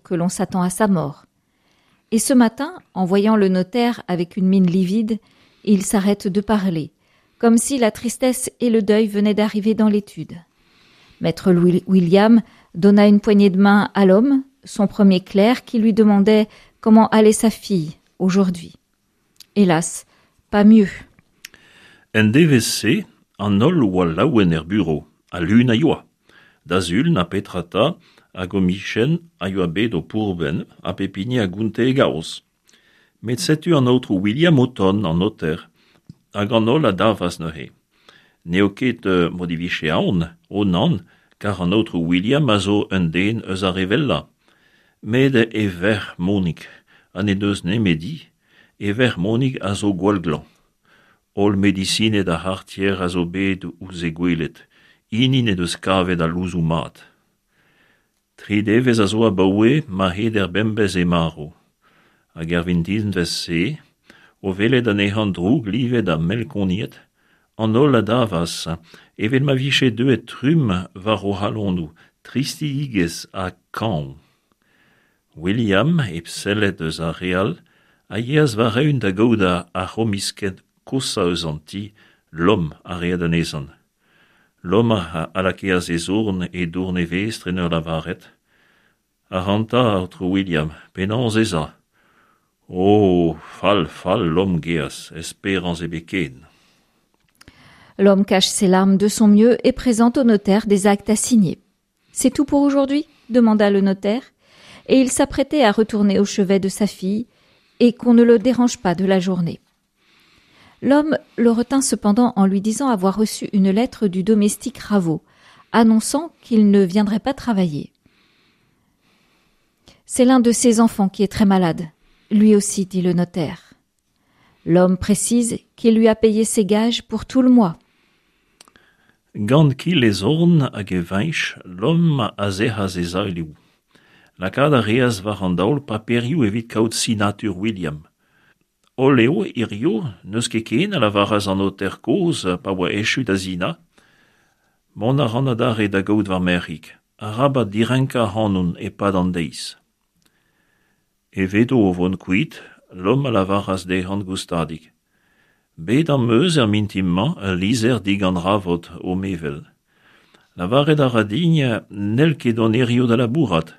que l'on s'attend à sa mort. Et ce matin, en voyant le notaire avec une mine livide, il s'arrête de parler, comme si la tristesse et le deuil venaient d'arriver dans l'étude. Maître William donna une poignée de main à l'homme, son premier clerc, qui lui demandait comment allait sa fille aujourd'hui. Hélas, pas mieux. En devezh-se, an holl oa laouen er burev, ha lun a yoa. Da sul, na petra 'ta, ar gomisenn a yoa bet o pourben ha pep hini a gonte e gaoz. Met setu an aotrou William o tont, an noter, hag an holl a davas neuze. N'eo ket m'o divije aon, o nann, kar an aotrou William a zo un den eus ar re wellañ. Met e verc'h Monig, ha n'he deus nemeti, e verc'h Monig a zo gwall glañv. Holl medisined ar c'hartier a zo bet ouzh he gwelet, hini n'he deus kavet al louzoù mat. Tri devezh a zo abaoe ma heder bemdez eo marv. Hag er vintinvezh-se, o welet anezhañ drouklivet ha melkoniet, an holl a davas, evel ma vije deuet trumm war o c'halonoù tristidigezh ha kañv. William, hep sellet eus ar re all, a yeas war-eeun da gaout ar c'homisked koshañ eus an ti, Lom a reed anezhañ. Lom a lakaas e zorn e dourn e vestr en ur lavaret Ac'hanta, aotrou William, penaos ez a? Oh, fall, fall, Lom gaezh, esperañs ebet ken. L'homme cache ses larmes de son mieux et présente au notaire des actes à signer. C'est tout pour aujourd'hui demanda le notaire, et il s'apprêtait à retourner au chevet de sa fille et qu'on ne le dérange pas de la journée. L'homme le retint cependant en lui disant avoir reçu une lettre du domestique Raveau, annonçant qu'il ne viendrait pas travailler. C'est l'un de ses enfants qui est très malade. Lui aussi, dit le notaire. L'homme précise qu'il lui a payé ses gages pour tout le mois. Gant kil e zorn hag e viñs, Lom a sec'has e zaeloù. Lakaat a reas war an daol paperioù evit kaout sinatur William. Holl eo hiziv, n'eus ket ken, a lavaras an noter kozh pa oa echu da sinañ. Mont a ran adarre da gaout va merc'hig. Arabat direnkañ ac'hanon e-pad an deiz. Evedo o vont kuit, Lom a lavaras dezhañ goustadik. Bet am eus er mintin-mañ ul lizher digant Ravot, ho mevel. Lavaret a ra din n'hell ket dont hiziv da labourat.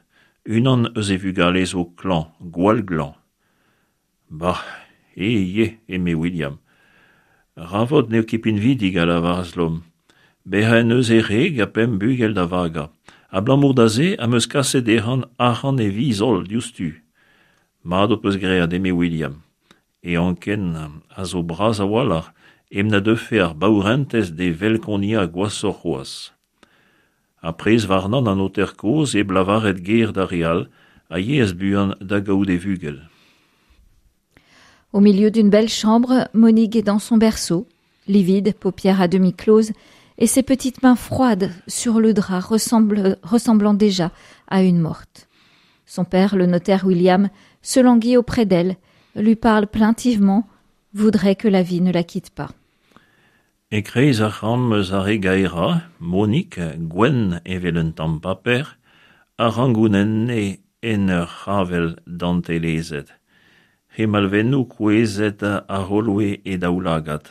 Unan eus e vugale zo klañv, gwall glañv. Bah, eh ivez, eme William. Ravot n'eo ket pinvidik, a lavaras Lom. Bezañ en deus e wreg ha pemp bugel da vagañ. Abalamour da se am eus kaset dezhañ arc'hant e viz holl diouzhtu. Mat ho peus graet, eme William. E anken a zo bras a-walc'h hep na deufe ar baourentez d'e velkoniañ gwashoc'h c'hoazh. Ha prez warnañ an noter kozh hep lavaret ger d'ar re all a yeas buan da gaout e vugel. Au milieu d'une belle chambre, Monique est dans son berceau, livide, paupières à demi closes, et ses petites mains froides sur le drap ressemblent, ressemblant déjà à une morte. Son père, le notaire William, se languit auprès d'elle, lui parle plaintivement, voudrait que la vie ne la quitte pas. E-kreiz ar c'hamp eus ar re gaerañ, Monique, gwenn evel un tamm paper, a rangounenne en ur c'havell dantelezet. He malvennoù kouezhet a c'holoe he daoulagad,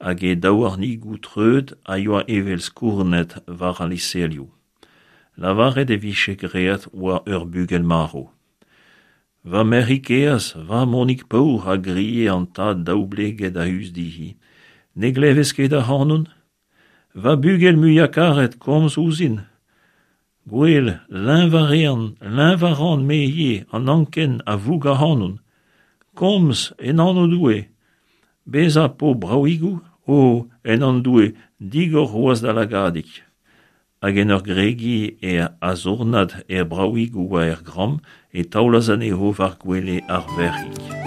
hag he daouarnigoù treut a yoa evel skournet war al liñselioù. Lavaret e vije graet oa ur bugel marv. Va merc'hig kaezh, va Monig paour, a grie an tad daoubleget a-us dezhi, ne glevez ket ac'hanon? Va bugel muiañ-karet, komz ouzhin! Gwel, leñv a rean, leñv a ran me ivez, an anken a voug ac'hanon. Komz, en anv Doue. Bezañ 'po bravigoù? O, en anv Doue, digor c'hoazh da lagadig. Hag en ur gregiñ e azornad er bravigoù a er gramm e taolas anezho war gwele ar verc'hig.